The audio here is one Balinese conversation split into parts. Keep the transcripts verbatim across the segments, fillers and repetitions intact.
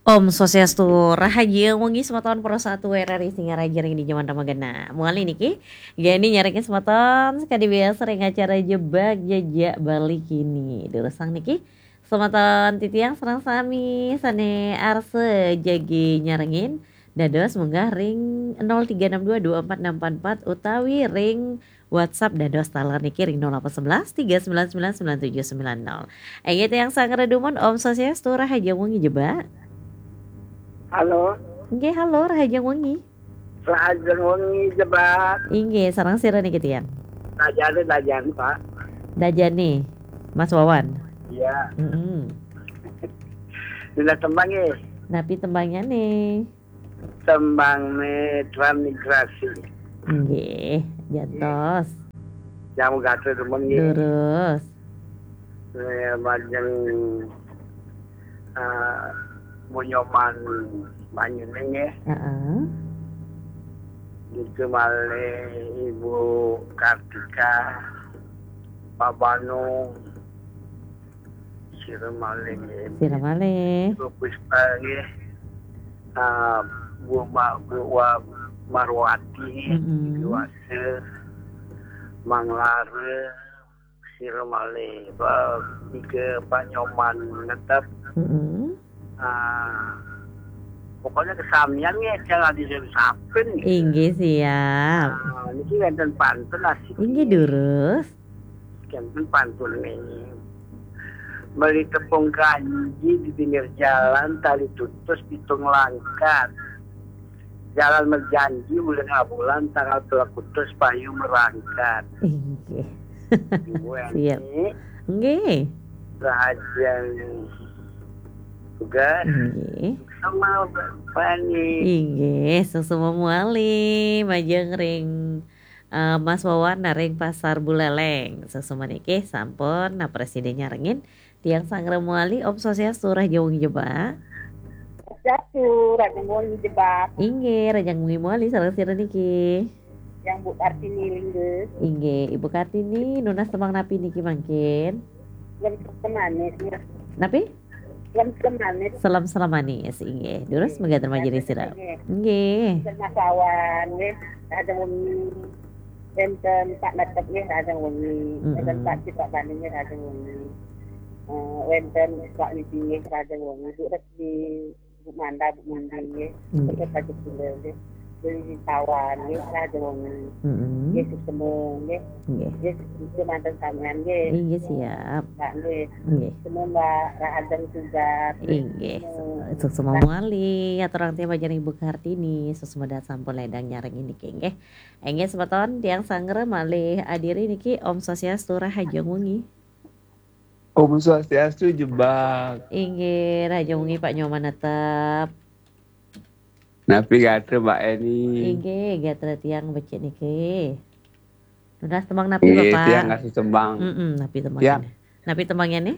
Om Swastiastu, rahajeng wengi semeton Pro satu R R I Singaraja ring di jaman ramagenah. Muali niki, geni nyarengin semeton sakadi biasa ring acara Jebak Jejak Bali kini. Durusang niki, semeton titiang sareng sami sane arsa jagi nyarengin, dados munggah ring nol tiga enam dua dua empat enam empat empat utawi ring WhatsApp dados taler niki ring nol delapan sebelas tiga sembilan sembilan sembilan tujuh sembilan nol. Inggih tiang sanggra dumun, Om Swastiastu, rahajeng wengi Jebak. Halo. Nggih, halo, rahajeng wengi. Rahajeng wengi Jebak. Inggih, sareng sira niki tiang? Dajane, dajane, Pak. Dajane, Mas Wawan. Iya. Mm-mm. Dina tembang nggih. Napi tembangyane? Tembangne Transmigrasi. Nggih, jantos. Jamu gatra demen nggih. Durus. Eh, majeng, eh, Bu Nyoman Manyuning nggih. Heeh. Gitu malih Ibu Kartika, Pak Banu, sira malih nggih. Sira malih. Bu Puspa nggih. Ah, Bu Ma-, Bu Wa-, Marwati nggih, mm-mm, Bu Wasa, Mang Lara, sira malih, Pak, nika Pak Nyoman Netep. Mm-mm. Ah, pokoknya kesamian nggih, jangan disapin. Inggih, siap. Ah, niki wenten pantun asik. Inggih, durus. Wenten pantun niki. Beli tepung kanji di pinggir jalan, tali tutus pitung langkat. Jalan berjanji, bulan bulan, tanggal telah putus, payu merangkat. Inggih. Ibu Eni. Siap. Nggih. Rahajeng tugas. Nggih. Sama Bapak Eni. Inggih, suksma muali, majeng ring, eh, Mas Wawan ring Pasar Buleleng. Suksma niki sampun, nah, presiden nyarengin. Tiang sanggra muali, Om Swastiastu, rahajeng wengi Jebak. Swastiastu, rahajeng wengi Jebak. Inggih, rahajeng wengi muali, sareng sira niki? Yang Bu Kartini Lingga. Inggih, Ibu Kartini, nunas tembang napi niki mangkin? Selem-selem manis, ya. Napi? Selem-selem manis. Selem-selem manis, inggih. Durus, inggih, mangga terima jadi sira. Inggih. Inggih. Mas Wawan, nggih, rahajeng wengi. Wenten Pak Netep nggih, rahajeng wengi. Mm-mm. Wenten Pak Cik, Pak Bani nggih, rahajeng wengi. Eh, wenten Pak Widi nggih, rahajeng wengi. Bu Resmi, Bu Manda, Bu Mundi nggih. Nggih. Wenten Pak Jepula nggih. Beli Tawan nggih, rahajeng wengi. Mm-mm. Nggih, suksma nggih. Nggih. Nggih, suksma manten samian nggih. Inggih, siap. Pak nggih. Nggih. Suksma Mbak, rahajeng tugas. Inggih. Suksma. Suksma muali, aturang tiang majeng Ibu Kartini, suksma dahat sampun ledang nyarengin niki nggih. Inggih, semeton tiang sanggra malih adiri niki, Om Swastiastu, rahajeng wengi. Om Swastiastu, Jebak. Inggih, rahajeng wengi Pak Nyoman Netep. Napi gatra Mbak Eni? Inggih, gatra tiang becik niki. Nunas tembang napi, inggih, Bapak? Tiang ngasih tembang. Mm-mm, napi tembang, siap, ini? Napi tembangnya nih?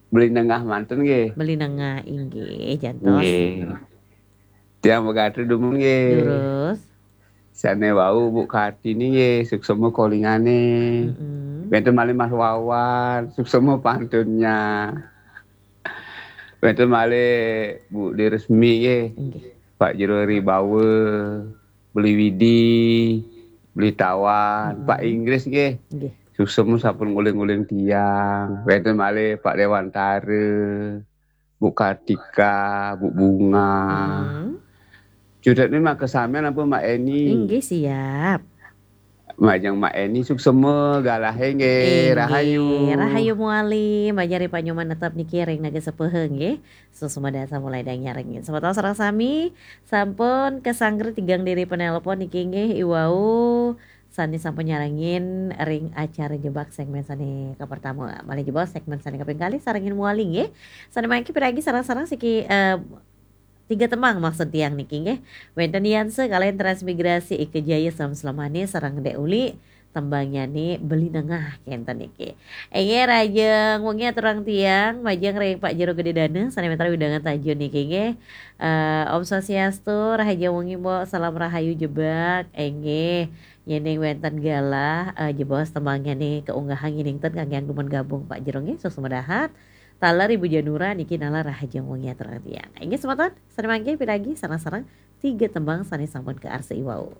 Beli Nengah manten nggih. Beli Nengah, inggih, jantos. Nggih. Tiang magatra dumun nggih. Durus. Sane wau Bu Kartini nggih, suksma kalingane. Mm-mm. Wenten malih Mas Wawan, suksma pantunnya. Wenten malih Bu Diresmi nggih. Nggih. Pak Jero Ribawa, Beli Widi, Beli Tawan, mm-mm, Pak Inggris nggih. Nggih. Suksma sampun nguling-nguling tiang. Wenten malih Pak Dewantara, Bu Kartika, Bu Bunga. Hmm. Cudetne mangke samian ampun Mak Eni. Inggih, siap. Majeng Mak Eni suksma galahe nggih, inggih, rahayu. Rahayu muali, majeng ring Pak Nyoman Netep niki ring Naga Sepuh nggih. Suksma dahat sampun ledang nyarengin. Semeton sareng sami sampun kasanggra tigang diri penelpon niki nggih, iwau sane sampun nyarengin ring acara Jebak segmen sane kapertama. Malih jebos segmen sane kaping kalih sarengin muali nggih. Sane mangkin piragi sareng-sareng siki, eh, tiga tembang maksud tiang niki nggih. Wenten Yanse kalian Transmigrasi, Ike Jaya, Selem-selem Manis, sareng Dek Uli, tembangnyane Beli Nengah kenten niki. Inggih, rahajeng wengi aturang tiang majeng ring Pak Jero Gede Dana sane mitra wewidangan Tajun niki nggih. Eh, Om Swastiastu, rahajeng wengi Mbok, salam rahayu Jebak. Inggih. Yening wenten galah, eh, jebos tembangnyane kaunggahang yening ten kangge dumun gabung Pak Jero nggih, suksma dahat. Taler Ibu Janura niki nalar rahajeng wengi aturang tiang. Inggih semeton, sane mangke piragi sareng-sareng tiga tembang sane sampun kaarsa i wau.